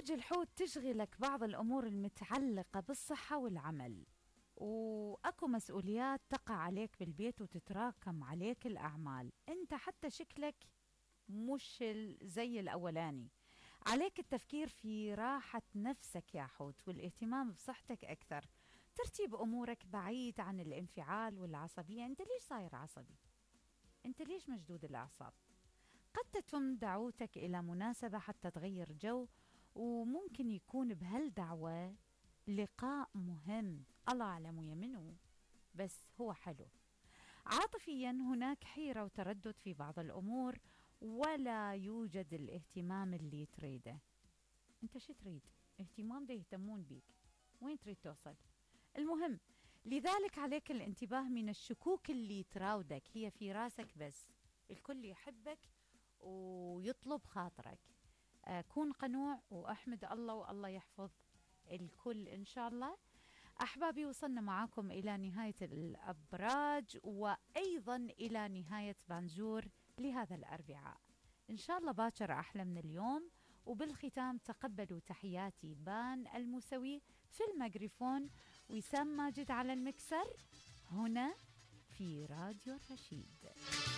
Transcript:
برج الحوت تشغلك بعض الأمور المتعلقة بالصحة والعمل، وأكو مسؤوليات تقع عليك بالبيت وتتراكم عليك الأعمال. أنت حتى شكلك مش زي الأولاني. عليك التفكير في راحة نفسك يا حوت والاهتمام بصحتك أكثر. ترتيب أمورك بعيد عن الانفعال والعصبية. أنت ليش صاير عصبي؟ أنت ليش مشدود الأعصاب؟ قد تتم دعوتك إلى مناسبة حتى تغير جو، وممكن يكون بهالدعوة لقاء مهم، الله أعلم ويا منو، بس هو حلو. عاطفيا هناك حيرة وتردد في بعض الأمور، ولا يوجد الاهتمام اللي تريده. انت شو تريد؟ اهتمام ده يهتمون بيك، وين تريد توصل؟ المهم، لذلك عليك الانتباه من الشكوك اللي تراودك، هي في راسك بس. الكل يحبك ويطلب خاطرك. كون قنوع واحمد الله، والله يحفظ الكل إن شاء الله. أحبابي، وصلنا معاكم إلى نهاية الأبراج، وأيضا إلى نهاية بانجور لهذا الأربعاء. إن شاء الله باكر أحلى من اليوم. وبالختام تقبلوا تحياتي بان الموسوي في الميكروفون، وسام ماجد على المكسر هنا في راديو الرشيد.